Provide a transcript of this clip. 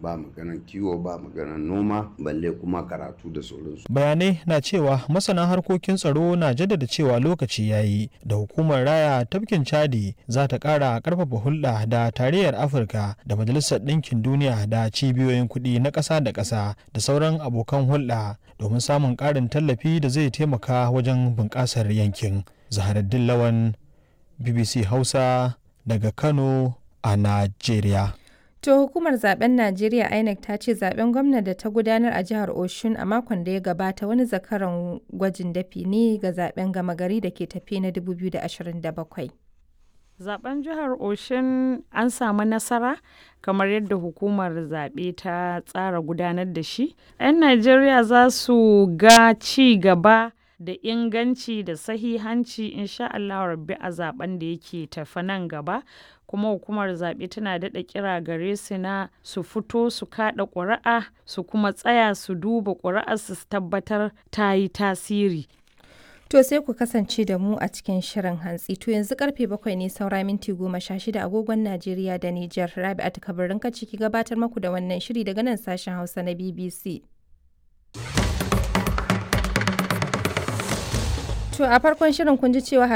Ba maganan kiwo, ba maganan noma, balle kuma karatu da sauransu. Bayanai na cewa masana harkokin tsaro na jaddada cewa lokaci ya yi da hukumar raya tafkin Chadi za ta kara karfafa hulɗa da Tarayyar Afirka da Majalisar Ɗinkin Duniya da cibiyoyin kuɗi na ƙasa da ƙasa da sauran abokan hulɗa domin samun ƙarin tallafi da zai taimaka wajen bunƙasar yankin. Zaharaddin Lawan, BBC Hausa, daga Kano a Najeriya. To, hukumar zaben Najeriya INEC ta ce zaben gwamna da ta gudanar a jihar Oshun a makon da ya gabata wani zakaran gwajin dafi ne ga zaben gama gari da ke tafe na 2027. Zaben jihar Oshun an samu nasara kamar yadda hukumar zaɓe ta tsara gudanar da shi. 'Yan Najeriya za su ga ci gaba da inganci da sahihanci insha Allah rabbi a zaben da yake tafe nan gaba. Kuma hukumar zaɓe tana daɗa kira gare su na su fito su kaɗa ƙuri'a, su kuma tsaya su duba ƙuri'ar su tabbatar ta yi tasiri. To, sai ku kasance da mu a cikin shirin hantsi. To, yanzu karfe 7 ne saura minti 16 agogon Najeriya da Nijar. Rabi'atu Kabirin ciki gabatar maku da wannan shiri daga nan sashen Hausa na BBC. To, a farkon shirin kun ji cewa